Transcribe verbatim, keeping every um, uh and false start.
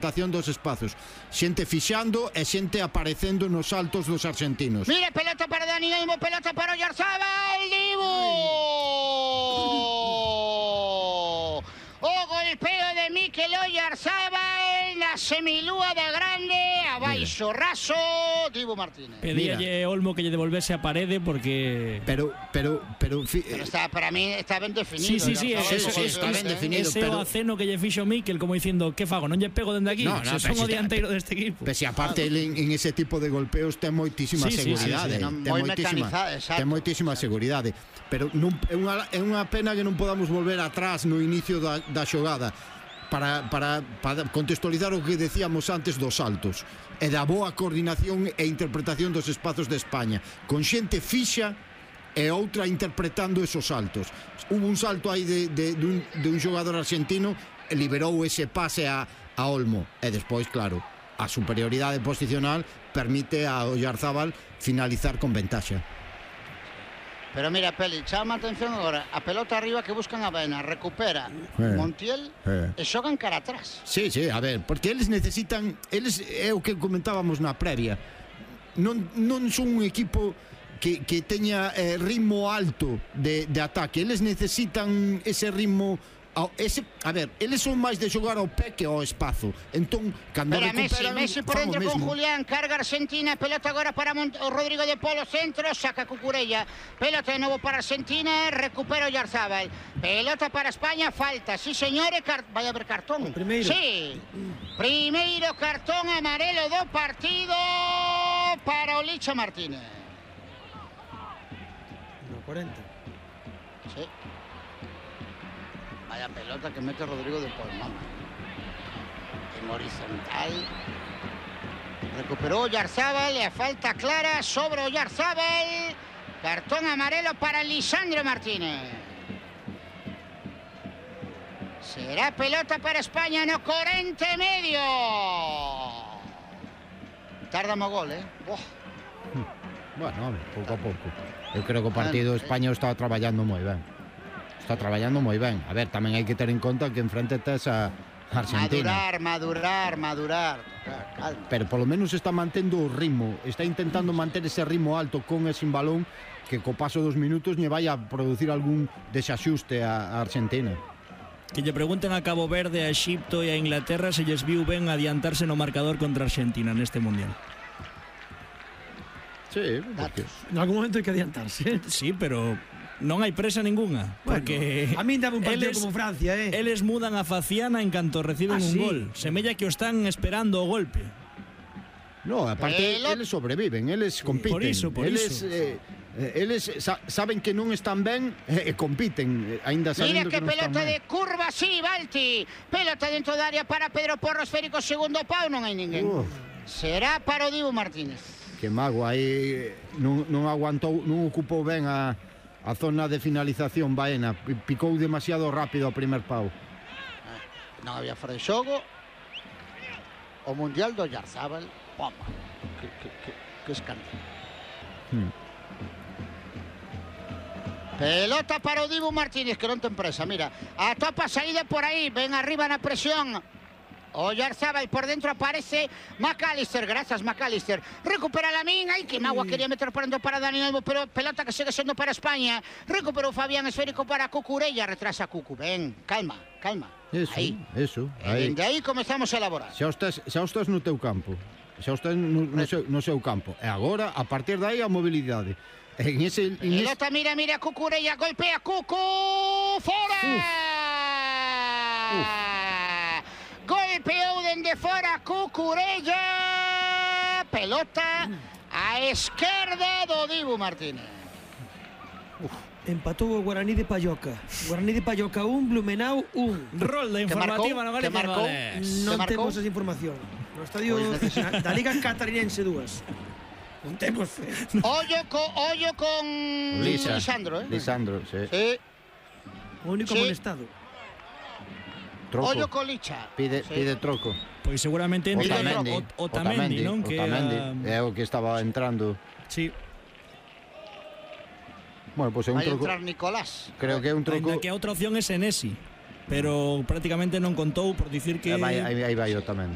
dos espazos, xente fixando e xente aparecendo nos saltos dos argentinos. Mira, pelota para Dani Olmo, pelota para Oyarzábal, Dibu. O golpeo de Mikel Oyarzábal na semilúa de grande, abaixo raso, Dibu Martínez. Pedíalle Olmo que lle devolvese a parede porque pero pero pero, fi... pero está, para mí está ben definido. Sí, sí, sí, sí, eso, sí, está sí, ben sí, definido, ese pero... o aceno que lle fixo Mikel como dicindo, que fago, non lle pego dende aquí, no, no, se son o dianteiro deste equipo. Pese aparte ah, en, en ese tipo de golpeos ten moitísima sí, seguridade, sí, sí, sí. No, ten, moitísima, ten moitísima seguridade, pero non, é, unha, é unha pena que non podamos volver atrás no inicio da, da xogada. Para, para, para contextualizar o que decíamos antes dos saltos e da boa coordinación e interpretación dos espazos de España, con xente fixa e outra interpretando esos saltos. Hubo un salto aí de, de, de, un, de un xogador argentino e liberou ese pase a, a Olmo e despois, claro, a superioridade posicional permite a Oyarzábal finalizar con ventaxa. Pero mira, Peli, chama a atención agora, a pelota arriba que buscan a Baena, recupera eh, Montiel eh. e xogan cara atrás. Sí, sí, a ver, porque eles necesitan, eles é o que comentábamos na previa. Non non son un equipo que que teña eh, ritmo alto de de ataque, eles necesitan ese ritmo. Ese, a ver, eles son máis de xogar ao pé que ao espazo. Entón, cando Pero recuperan, Messi, Messi por dentro con Julián, carga Argentina, pelota agora para Mont Rodrigo de Polo, centro, saca Cucurella, pelota de novo para Argentina, recupera Oyarzábal, pelota para España, falta, sí señores, vai haber cartón. O primeiro. Sí, primeiro cartón amarelo do partido para o Licha Martínez. No cuarenta. Sí. Vaya pelota que mete Rodrigo de Paul, mamá. En horizontal. Recuperó Oyarzábal, le falta clara sobre Oyarzábal. Cartón amarelo para Lisandro Martínez. Será pelota para España no cuarenta y medio. Tardamos gol, eh. Buah. Bueno, pouco a pouco. Eu creo que o partido de España está traballando moi ben. Está traballando moi ben. A ver, tamén hai que ter en conta que enfrente tes a Argentina. Madurar, madurar, madurar. Calma. Pero polo menos está mantendo o ritmo. Está intentando manter ese ritmo alto con e sin balón, que co paso dos minutos lle vai a producir algún desaxuste a Argentina. Que lle pregunten a Cabo Verde, a Exipto e a Inglaterra se lles viu ben adiantarse no marcador contra Argentina neste Mundial. Sí, porque... en algún momento hai que adiantarse. Sí, pero non hai presa ninguna, bueno, porque a min dame un partido eles, como Francia, eh. Eles mudan a faciana en canto reciben ah, un sí. gol. Semella que o están esperando o golpe. No, aparte eles sobreviven, eles compiten. Por iso, por eles, iso. Eh, eles sa saben que non están ben e eh, compiten, aínda sabendo Mira que, que non están ben. Mira que pelota de curva, sí, Balti. Pelota dentro da área para Pedro Porro, esférico, segundo pau, non hai ninguén. Uf. Será para o Dibu Martínez. Que mago, aí non, non aguantou, non ocupou ben a, a zona de finalización Baena, picou demasiado rápido o primer pau. Non había fora de xogo. O Mundial do Oyarzábal, poma, que, que, que, que escándalo. Hmm. Pelota para o Dibu Martínez, que non ten presa, mira, a topa saída por aí, ven arriba na presión. Oyarzábal, por dentro aparece McAllister, gracias McAllister, recupera Lamín, ay que magua, quería meter por dentro para Dani Olmo, pero pelota que sigue siendo para España, recuperó Fabián, esférico para Cucurella, retrasa Cucu, ven, calma, calma, eso, aí, eso, aí. De aí comezamos a elaborar. Xa estás, xa estás no teu campo, xa estás no, no, seu, no seu campo, e agora, a partir de aí, a mobilidade. En ese, en pelota, ese... mira, mira, Cucurella, golpea Cucu, fora! Uf. Uf. Golpeou dende fora Cucurella, pelota a esquerda do Dibu Martínez. Uf. Empatou o Guaraní de Palloca. Guaraní de Palloca un, Blumenau un. Rolda informativa no Galicia Vales. Non temos esa información. No estadio pues da Liga Catarinense dúas. Non temos fe. Ollo, co, ollo con Lisa. Lisandro, eh? Lisandro, sí. Sí. O único sí. Molestado. Troco. Ollo con Licha. Pide, sí. pide troco. Pois seguramente entre Otamendi, o, Otamendi, non? Que Otamendi, é o que estaba entrando. Sí. Bueno, pois pues é un vai troco. Vai entrar Nicolás. Creo que é un troco. Ainda que a outra opción é Senesi. pero prácticamente non contou por dicir que Aí vai eu tamén.